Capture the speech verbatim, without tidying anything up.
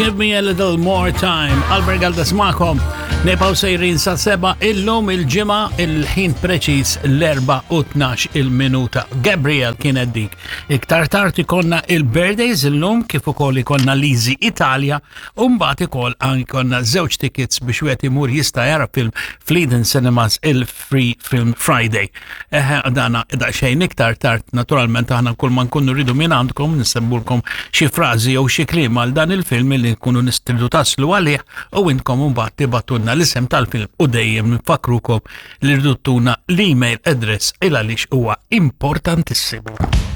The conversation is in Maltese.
Give me a little more time. Albert Galdes magħkom. Nibqgħu sejrin sa sebgħa illum il-Ġimgħa, il-ħin preċis l-erbgħa u tnax il-minuta. Gabriel kienet dik. Iktar tard ikollna il-birthdays illum, kif ukoll ikollna Lizi Italia, u mbagħad ikoll ikollna żewġ tickets biex wieħed imur jista' jara film fl-Eden Cinemas, il-Free Film Friday. Eħe, dana daqsxejn iktar tard. Naturalment aħna kull ma nkunu rridu minn għandkom nissemmulkom xi frażi jew xi kliem għal dan il-film li nkunu nistridu taslu għalih u intkom mbagħad tibagħtulna l-isem tal-film, u dejjem nfakrukom li rridu ttuna l-email address il għaliex huwa importantissimu.